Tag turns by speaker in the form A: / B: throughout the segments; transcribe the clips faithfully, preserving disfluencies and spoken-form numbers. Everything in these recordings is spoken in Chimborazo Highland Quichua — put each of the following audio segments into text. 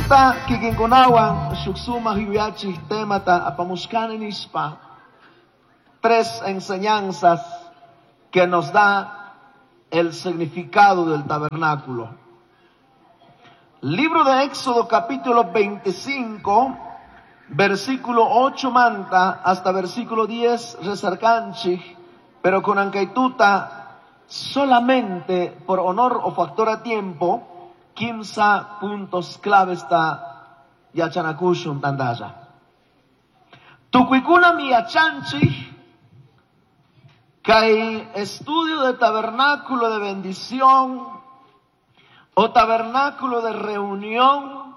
A: Kunantuta kikinkunawan shuk sumak yuyachik temata apamushkani nishpa tres enseñanzas que nos da el significado del tabernáculo. Libro de Éxodo capítulo veinticinco, versículo ocho manta hasta versículo diez rezarcanchik, pero con ankaituta solamente por honor o factor a tiempo, quince puntos clave está yachanakushun tandaya. Tukuykuna mi yachanchik, kay estudio de tabernáculo de bendición o tabernáculo de reunión,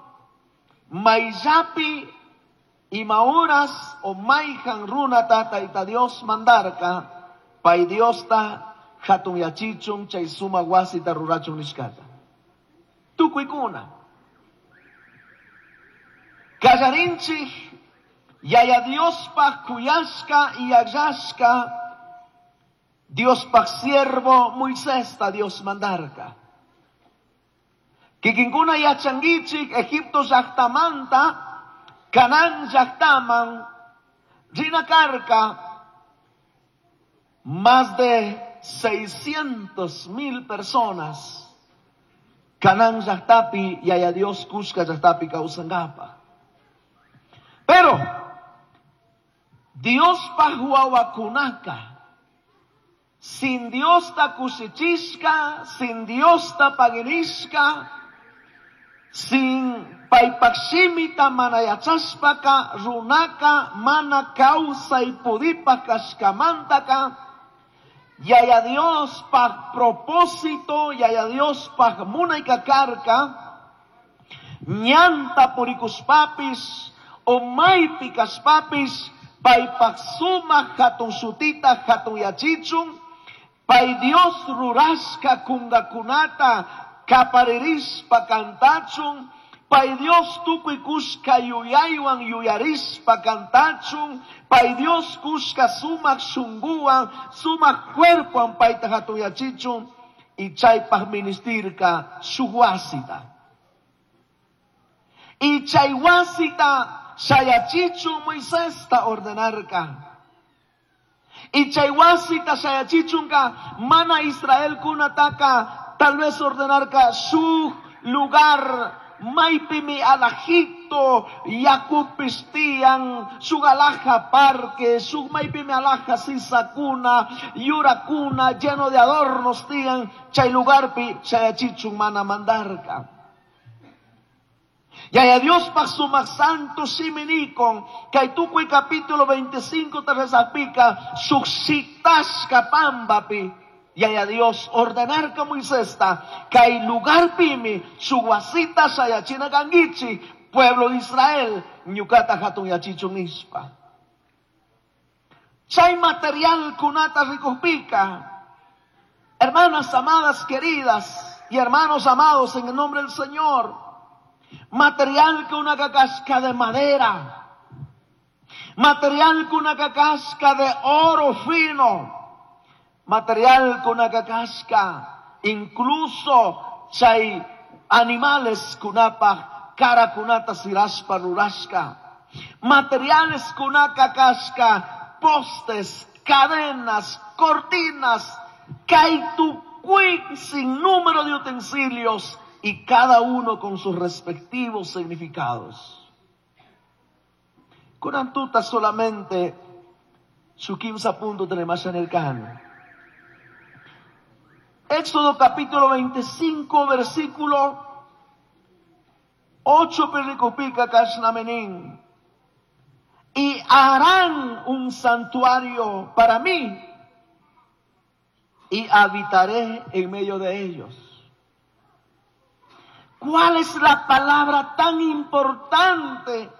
A: mayllapi y mauras o mayjan runa tata ita Dios mandarka, pay Dios ta hatun yachichun chay suma wasita rurachun nishkata. Tukuykuna. Kallarinchik, yaya Diospaj kuyashka y yayashka, Diospaj siervo Moisés ta Dios mandarka. Kikinkuna yachangichik, Egipto llaqtamanta, Canaán llaqtaman, rinakarka, más de seiscientos mil personas. Canaán llaqtapi, yaya Dios kushka llaqtapi kawsangapa. Pero, Diospaj wawakunaka, sin Dios ta kusichishka, sin Dios ta paginishka, sin paypakshimita manayachashpaka, runaka mana kawsay pudipa kashkamantaka, yaya Dios paj propósito, yaya Dios paj munayka karka, ñanta purikushpapis, o maypi kashpapis, paypaj sumak hatun shutita hatun yachichun, pay Dios rurashka kungakunata kaparirishpa kantachun, pay Dios tukuy kushka yuyaywan yuyarishpa kantachun, pay Dios kushka sumak shunguwan, sumak cuerpowan payta hatun yachichun, y chaypaj ministirka shuk wasita. Y chay wasita shayachichun Moisesta ordenarka. Y chay wasita shayachichunka mana Israel kunataka tal vez ordenarka su lugar maypimi alajito yakupistian su alaja parque su maypimi alaja sisakuna yurakuna lleno de adornos tian chay lugarpi shayachichun mana mandarka. Yaya Dios pa sumak santo siminikon, kay tukuy capítulo veinticinco te rezapika, suksitashka pambapi. Yaya Dios ordenar ka Moisés ta, kay lugar pimi, suwasita sayachina gangichi, pueblo de Israel, ñukata hatun yachichun nispa. Chay material kunata rikupika, hermanas amadas queridas y hermanos amados en el nombre del Señor, material que una cacasca de madera, material que una cacasca de oro fino, material con una cacasca, incluso chay animales kunapa, cara kunata siraspa rurasca, materiales con una cacasca, postes, cadenas, cortinas, kaitucui, sin número de utensilios, y cada uno con sus respectivos significados. Con antuta solamente su quince punto tenemos en el can. Éxodo capítulo veinticinco, versículo ocho, perricopica kashnamenín. Y harán un santuario para mí y habitaré en medio de ellos. ¿Cuál es la palabra tan importante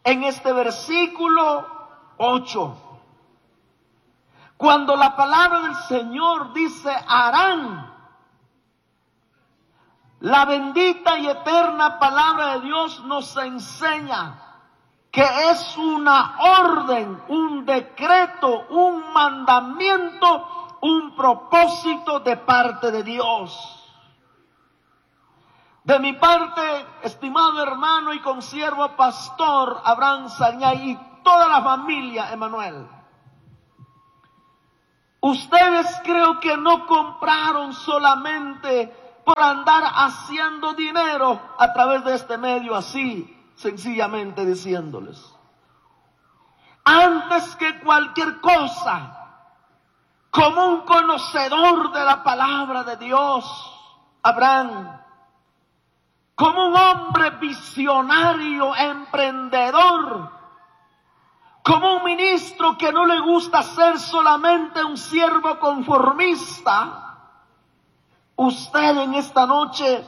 A: en este versículo ocho? Cuando la palabra del Señor dice harán, la bendita y eterna palabra de Dios nos enseña que es una orden, un decreto, un mandamiento, un propósito de parte de Dios. De mi parte, estimado hermano y consiervo pastor Abraham Sañay y toda la familia Emanuel, ustedes creo que no compraron solamente por andar haciendo dinero a través de este medio, así, sencillamente diciéndoles. Antes que cualquier cosa, como un conocedor de la palabra de Dios, Abraham, como un hombre visionario, emprendedor, como un ministro que no le gusta ser solamente un siervo conformista, usted en esta noche,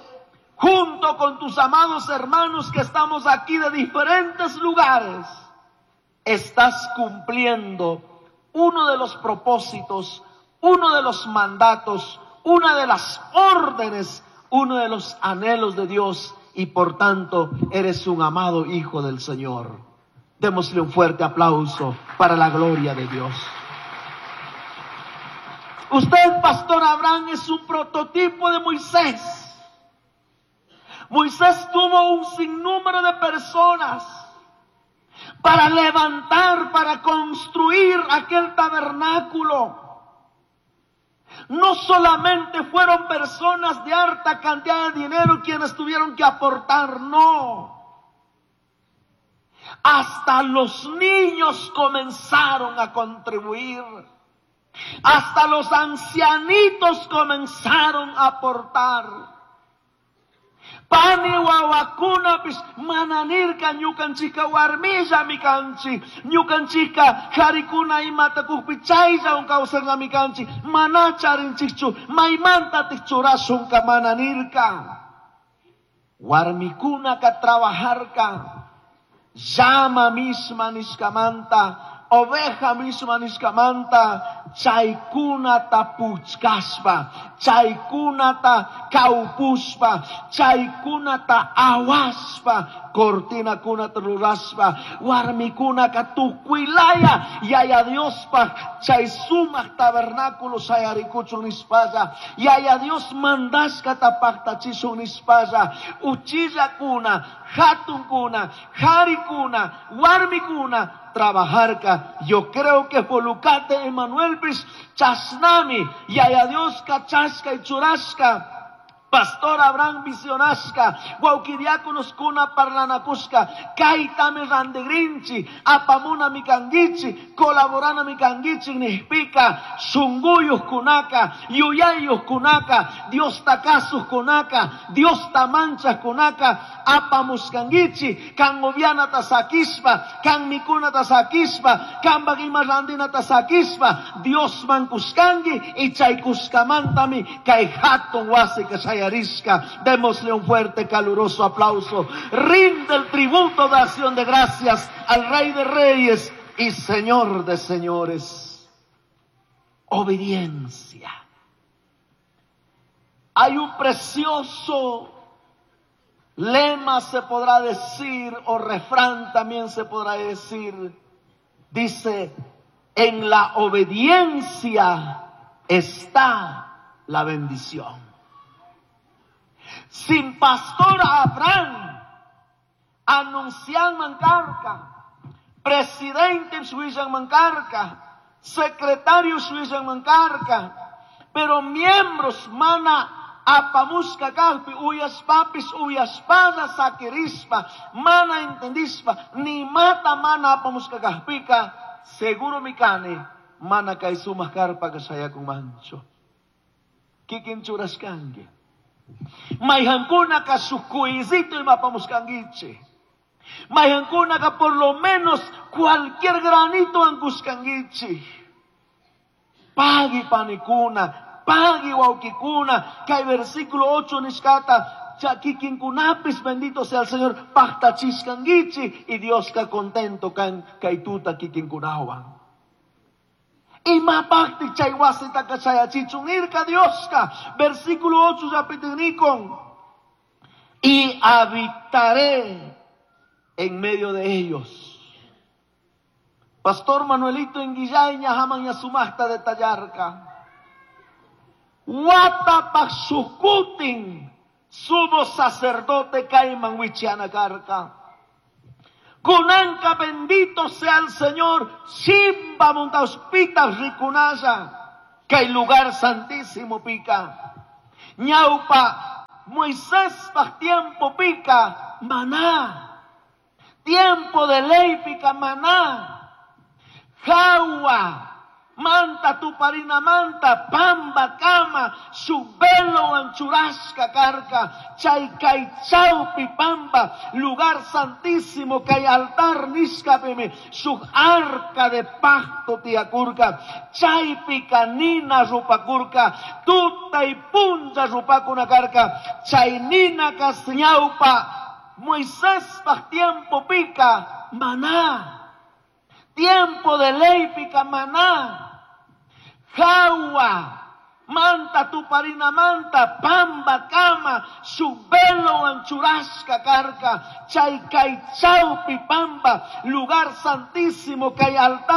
A: junto con tus amados hermanos que estamos aquí de diferentes lugares, estás cumpliendo uno de los propósitos, uno de los mandatos, una de las órdenes, uno de los anhelos de Dios, y por tanto eres un amado hijo del Señor. Démosle un fuerte aplauso para la gloria de Dios. Usted, Pastor Abraham, es un prototipo de Moisés. Moisés tuvo un sinnúmero de personas para levantar, para construir aquel tabernáculo. No solamente fueron personas de harta cantidad de dinero quienes tuvieron que aportar, no. Hasta los niños comenzaron a contribuir. Hasta los ancianitos comenzaron a aportar. Pani wawakunapis mana nirka ñukanchika warmillami kanchik, ñukanchika karikuna imata kukpi chayllawan kawsarnami kanchik, mana charinchikchu, maymantatik churashunka mana nirka. Warmikunaka trabajarka, llama misma nishkamanta, oveja misma nishkamanta, chaykunata puchkashpa, chaykunata kawpushpa, chaykunata awashpa, cortinakunata rurashpa, warmikunaka tukuylaya Yaya Diospaj chay sumaq tabernáculo shayarikuchun nishpalla, Yaya Dios mandashkata paqtachishun nishpalla, uchillakuna, hatunkuna, harikuna, warmikuna trabajarka. Yo creo que Volucate Emanuel pis chasnami, Yaya Dios kachashka y churashka, Pastor Abraham visionashka, wawkidiáconos kuna parlanakushka, kaytami randigrinchi, apamuna mikanguichi, colaborana mikanguichi nishpika, shunguyuj kunaka, yuyayuj kunaka, Dios takasuj kunaka, Dios tamanchaj kunaka, apamushkanguichi, kan gobianata sakishpa, kan mikunata sakishpa, kan ima randinata sakishpa, Dios mankushkangi, y chaykushkamantami kay hatun wasi kashaya. Démosle un fuerte, caluroso aplauso. Rinde el tributo de acción de gracias al Rey de Reyes y Señor de Señores. Obediencia. Hay un precioso lema, se podrá decir, o refrán también se podrá decir. Dice, en la obediencia está la bendición. Sin Pastor Abraham, anuncian mancarca, presidente Suizan mancarca, secretario Suizan mancarca, pero miembros mana apamusca kalpi, uyas papis, uyas pana saquirispa, mana entendispa, ni mata mana apamusca kalpika, seguro mikane, mana kaisumas karpa kasayakun mancho. Kikin churaskangue. Mayhankunaka sukuizito imapamuskanguiche. Mayhankunaka por lo menos cualquier granito anguskanguiche. Pagui panikuna, pagui waukikuna, kay versículo ocho nishkata, chakikinkunapis, bendito sea el Señor, pactachiskanguichi, y Dios ka contento kan kaituta kikinkunawan. Imapakti chay wasita kachayachichun irka Dioska. Versículo ocho yapitinikon. Y habitaré en medio de ellos. Pastor Manuelito en Guillaña, jaman yasumasta de tallarca. Watapak sukutin, Sumo sacerdote kayman wichana karka. Kunanka bendito sea el Señor, chimbamanta rikunalla, kay lugar santísimo pika. Ñaupa, Moisés tiempo pika, maná. Tiempo de ley pica maná. Jawa, manta tuparina manta, pamba kama, shuk velo churashka karka, chay kay chaupi pamba, lugar santísimo kay altar nishkapimi, shuk arca de pacto tiyakurka, chaypika nina rupakurka, tutay punlla rupakuna karka, chay nina ñaupa, Moisés tiempo pika, maná. Tiempo de ley pica maná. Jawa, manta tuparina manta, pamba kama, shuk velo churashka karka, chay kay chaupi pamba, lugar santísimo kay altar.